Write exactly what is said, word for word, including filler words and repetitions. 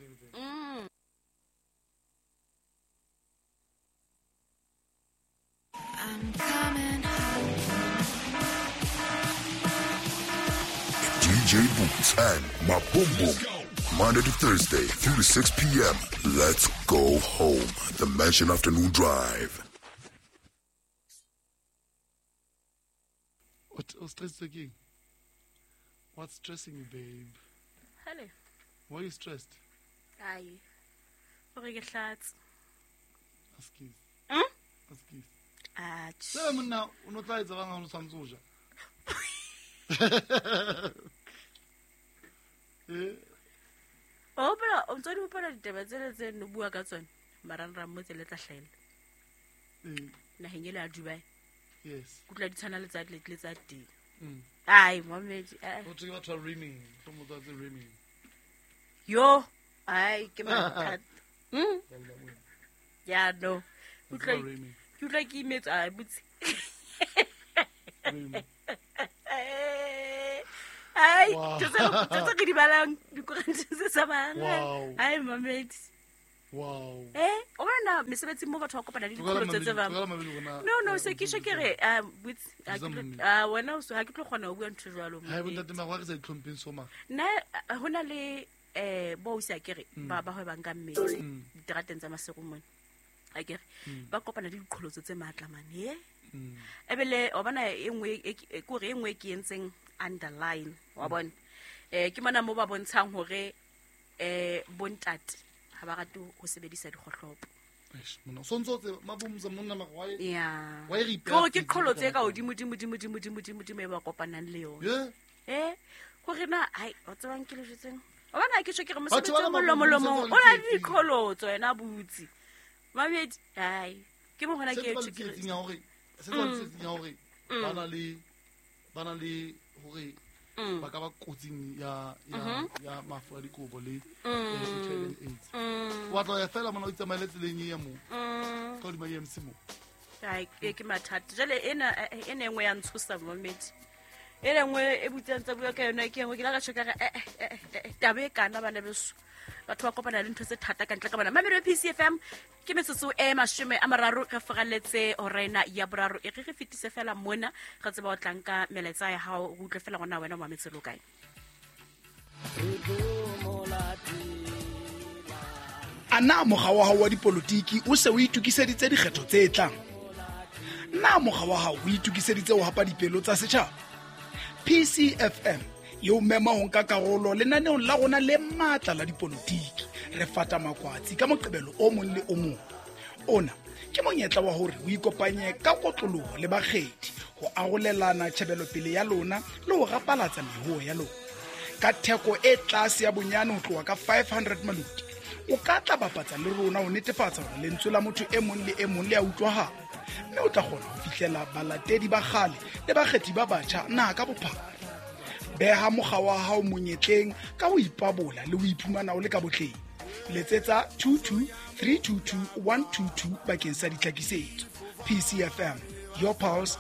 Anything. Mm. I'm coming home. D J Boots and Maboom Boom. Monday to Thursday, three to six P M. Let's go home. The Mansion Afternoon Drive. What was stressed again? What's stressing you, babe? Hello. Why are you stressed? Aye. Askies. Hmm? Askies. Ah. Sela monna o no tla etsa bang ha o tshwantse ho ja. Eh. O hopola, o ntso di hopola ditaba tsele tse no bua ka tsona, marangrang mo tsele tla hlahella. Eh. Naheng ele ya Dubai. Yes. Kutlwa di tshwana le tsa le tsa teng. Mm. Ai, momedi. O tswe batho ba rimming, tlo tsa tse rimming. Yo, ai ke mathata. Mm. Ya no. Kutlwa ke utlwa ke imetse a botse. Ai, tse tse ke di balang dikorante tse sa bang. Ai mamedi. Wow. Eh, o bona mesebetsi mo batho ba kopana le dikholo tse tse ba. No no, se ke shekere a botse a wena o so ha ke tlo kgona ho bua ntho jwalo mo. Ha e bontate magwa re sa itlhompheng so ma. Nna hona le eh bo o sa kere ba ba hwebang ka mmele diterateng tsa Maseru mona. Akere ba kopana le diqholotso tse matla mane e ebele o bona e nngwe e kore e nngwe ke entseng underline wa bona eh ke mona mo ba bontshang hore eh bontate ha ba rate ho sebedisa dikgohlopo. Eish mona so ntso tse mabumza monna magwa ya wa e ke ke qholotso e ka hodimo dimo dimo dimo dimo dimo dimo e ba kopanang le yona eh hore na ai o tsebang ke le jetseng o bona ke tjho ke re mosebetsi o molomolomong o na le diqholotso yena butsi. Mamedi, ai, ke mo hona ke e tshitseng ya hore se tswa tshitseng ya hore ba na le ba na le hore ba ka ba kotsing ya ya ya mafu a dikobo le H I V and AIDS. Wa tla ya fela mona o itsamaele tseleng ya mo. Ka di ma E M C mo. Ai, ke ke mathata. Jale ena ena engwe ya ntshosa mamedi. E lengwe e butsang tsa bua ka yona ke engwe ke la ka tjho ka re eh eh taba e kana bana beso. Batho ba kopana le ntho tse thata ka ntle ka bona. Mamedi P C F M ke metsotso e mashome a mararo re foraletse horena ya boraro e re re fetise fela mona re tseba o tlang ka melaetsa ya hao o utlwe fela gona wena mametse lo kae. Ana mokga wa hao wa dipolotiki o se o itokiseditse dikgetho tse tlang? Na mokga wa hao o itokiseditse ho hapa dipelo tsa setjhaba? P C F M yo mema ho nka karolo lenaneong la rona le matla la dipolotiki. Re fata makwatsi ka moqebelo o mong le o mong. Ona ke monyetla wa hore o ikopanye ka kotloloho le bakgethi ho arolelana tjhebelopele ya lona le ho rapalatsa mehoho ya lona. Ka theko e tlase ya bonyane ho tloha ka five hundred maluti, o ka tla bapatsa le rona ho netefatsa hore lentswe la motho e mong le e mong le a utlwahala, mme o tla kgona ho fihlela balatedi ba kgale le bakgethi ba batjha naha ka bophara. Beha mokga wa hao monyetleng ka ho ipabola le ho iphumana o le ka botleng. Letsetsa two two three two two one two two bakeng sa ditlhakisetso. P C F M, your pulse,